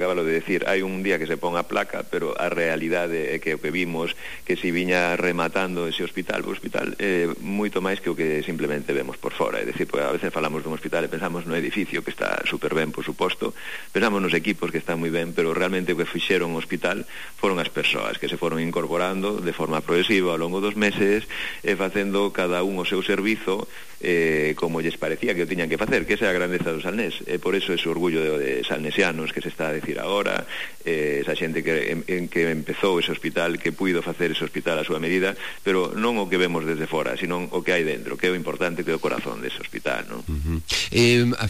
Acabalo de decir, hai un día que se pon a placa, pero a realidade é que o que vimos que se viña rematando ese hospital, o hospital é moito máis que o que simplemente vemos por fora, é dicir, pues, a veces falamos dun hospital e pensamos no edificio que está super ben, por suposto, pensamos nos equipos que están moi ben, pero realmente o que fixeron o hospital foron as persoas que se foron incorporando de forma progresiva ao longo dos meses e facendo cada un o seu servizo como lles parecía que o tiñan que facer, que esa é a grandeza do Salnés, e por eso ese orgullo de salnesianos que se está a decir agora, esa xente que empezou ese hospital, que puido facer ese hospital a súa medida, pero non o que vemos desde fora, sino o que hai dentro, que é o importante, que é o corazón dese hospital, non?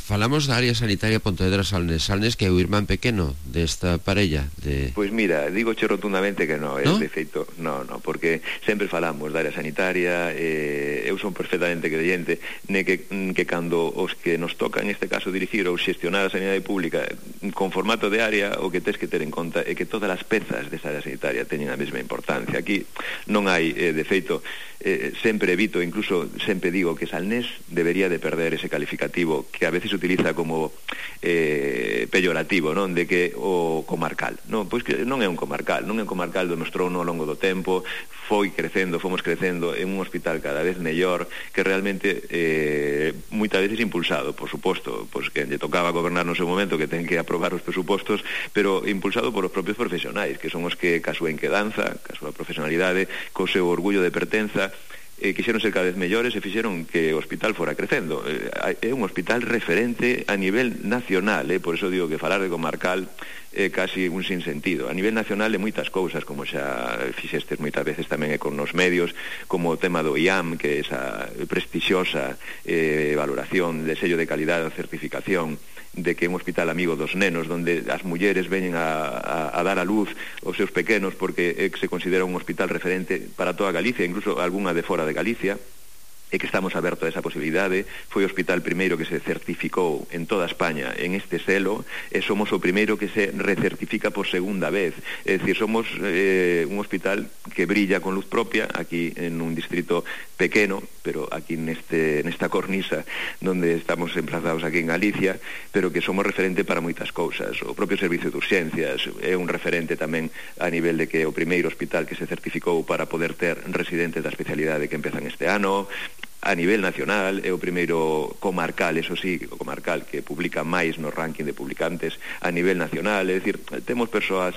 Falamos da área sanitaria Pontevedra-Salnés, que é o irmán pequeno desta parella de... Pois mira, digoche rotundamente que non, ¿No? De feito, non, porque sempre falamos da área sanitaria, eu son perfectamente creyente que cando os que nos toca, en este caso, dirigir ou xestionar a sanidade pública con formato de área, o que tens que ter en conta é que todas as pezas desa área sanitaria teñen a mesma importancia. Aquí non hai, de feito, sempre evito, incluso sempre digo que Salnés debería de perder ese calificativo que a veces utiliza como peyorativo, non? De que o comarcal, non? Pois que non é un comarcal, demostrou ao longo do tempo, fomos crecendo en un hospital cada vez mellor, que realmente moitas veces impulsado, por suposto, pois que lle tocaba gobernar no seu momento, que ten que aprobar os presupostos, pero impulsado por os propios profesionais, que son os que, ca súa inquedanza, ca súa profesionalidade, co seu orgullo de pertenza, quixeron ser cada vez mellores e fixeron que o hospital fora crecendo. É un hospital referente a nivel nacional, por eso digo que falar de comarcal é casi un sinsentido. A nivel nacional de moitas cousas, como xa fixestes moitas veces tamén con nos medios, como o tema do IAM, que é esa prestixiosa valoración de sello de calidade ou certificación de que é un hospital amigo dos nenos, donde as mulleres veñen a dar a luz aos seus pequenos, porque se considera un hospital referente para toda Galicia, incluso algunha de fora de Galicia, e que estamos abertos a esa posibilidade. Foi o hospital primeiro que se certificou en toda España en este selo, e somos o primeiro que se recertifica por segunda vez, é dicir, somos un hospital que brilla con luz propia aquí en un distrito pequeno, pero aquí nesta cornisa donde estamos emplazados aquí en Galicia, pero que somos referente para moitas cousas. O propio servicio de urxencias é un referente tamén a nivel de que o primeiro hospital que se certificou para poder ter residentes da especialidade que empezan este ano. A nivel nacional é o primeiro comarcal, eso sí, o comarcal que publica máis no ranking de publicantes a nivel nacional, é dicir, temos persoas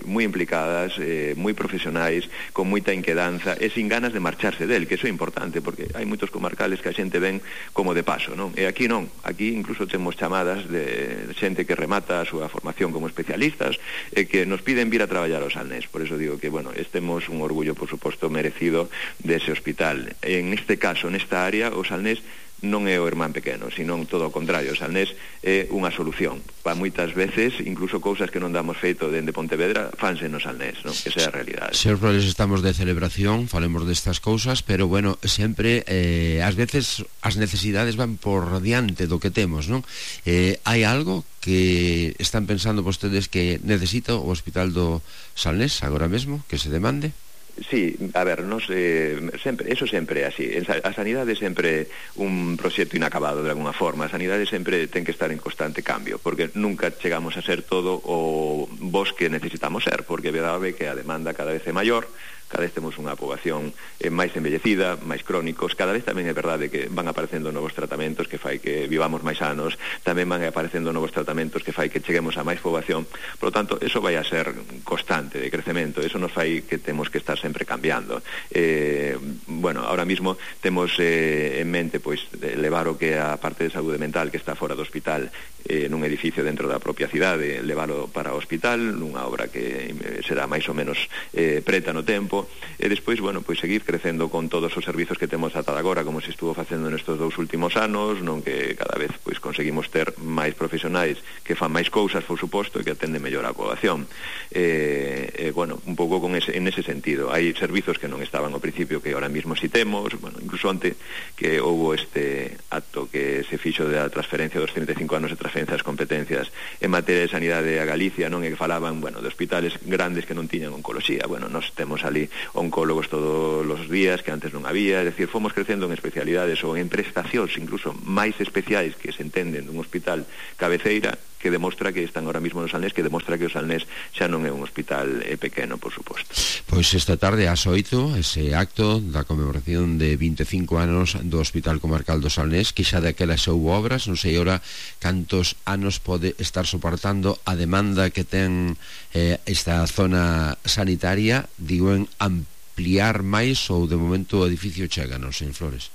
moi implicadas, moi profesionais, con moita inquedanza e sin ganas de marcharse del, que iso é importante, porque hai moitos comarcales que a xente ven como de paso, non? E aquí non, aquí incluso temos chamadas de xente que remata a súa formación como especialistas e que nos piden vir a traballar ao Salnés. Por eso digo que, bueno, temos un orgullo, por suposto, merecido dese hospital. En este caso, nesta área, o Salnés non é o irmán pequeno, senón todo o contrario. O Salnés é unha solución para moitas veces, incluso cousas que non damos feito dende Pontevedra, fanse no Salnés, non? Esa é a realidade. Señor Roles, estamos de celebración, falemos destas cousas, pero bueno, sempre ás veces as necesidades van por diante do que temos, non? Hai algo que están pensando vostedes que necesita o Hospital do Salnés agora mesmo, que se demande? Sí, a ver, eso sempre é así. A sanidade é sempre un proxecto inacabado de alguna forma. A sanidade sempre ten que estar en constante cambio, porque nunca chegamos a ser todo o vos que necesitamos ser, porque é verdade que a demanda cada vez é maior, cada vez temos unha poboación máis envellecida, máis crónicos, cada vez tamén é verdade que van aparecendo novos tratamentos que fai que vivamos máis anos, tamén van aparecendo novos tratamentos que fai que cheguemos a máis poboación. Por lo tanto, eso vai a ser constante de crecemento, eso nos fai que temos que estar sempre cambiando. Bueno, ahora mismo temos en mente pois levar o que a parte de saúde mental que está fora do hospital nun edificio dentro da propia cidade, leválo para o hospital, nunha obra que será máis ou menos preta no tempo, e despois, bueno, pois seguir crecendo con todos os servizos que temos ata agora, como se estuvo facendo nestes 2 últimos anos, non, que cada vez pois conseguimos ter máis profesionais que fan máis cousas, por suposto, e que atenden mellor a poboación. Bueno, un pouco en ese sentido. Hai servizos que non estaban ao principio que ahora mismo si temos, bueno, incluso onte que houbo este acto que se fixo da transferencia dos 35 anos de transferencia das competencias en materia de sanidade a Galicia, non, e que falaban, bueno, de hospitales grandes que non tiñan oncoloxía. Bueno, nós temos ali oncólogos todos os días que antes non había, é dicir, fomos crecendo en especialidades ou en prestacións incluso máis especiais que se entenden dun hospital cabeceira, que demostra que están ahora mismo no Salnés, que demostra que o Salnés xa non é un hospital pequeno, por suposto. Pois esta tarde ás 8 ese acto da conmemoración de 25 anos do Hospital Comarcal do Salnés, que xa daquela xa houve obras, non sei ora cantos anos pode estar soportando a demanda que ten esta zona sanitaria, digo, en ampliar máis, ou de momento o edificio chega, non sei, en Flores?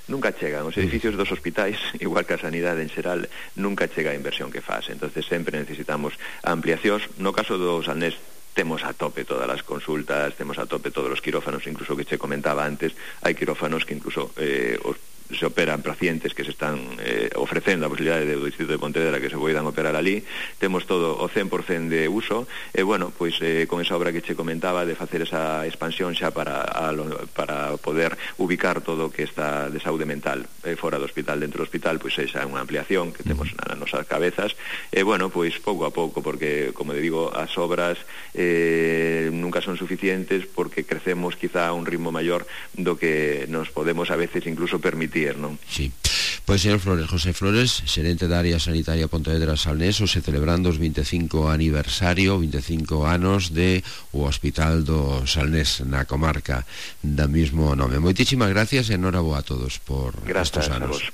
Nunca chegan, os edificios dos hospitais, igual que a sanidade en xeral, nunca chega a inversión que faz, entonces sempre necesitamos ampliacións. No caso do Salnés temos a tope todas as consultas, temos a tope todos os quirófanos, incluso que che comentaba antes, hai quirófanos que incluso se operan pacientes que se están ofrecendo a posibilidade do distrito de Pontevedra que se poidan operar ali, temos todo o 100% de uso, e bueno, pois con esa obra que che comentaba de facer esa expansión xa para poder ubicar todo o que está de saúde mental fora do hospital, dentro do hospital, pois esa é unha ampliación que temos nas nosas cabezas, e bueno, pois pouco a pouco, porque como digo, as obras nunca son suficientes, porque crecemos quizá a un ritmo maior do que nos podemos a veces incluso permitir, non? Sí. Pois, señor Flores, José Flores, xerente da área sanitaria Pontevedra Salnés, se celebrando os 25 aniversario, 25 anos de o Hospital do Salnés na comarca da mismo nome. Moitísimas gracias e enhoraboa a todos por estos anos.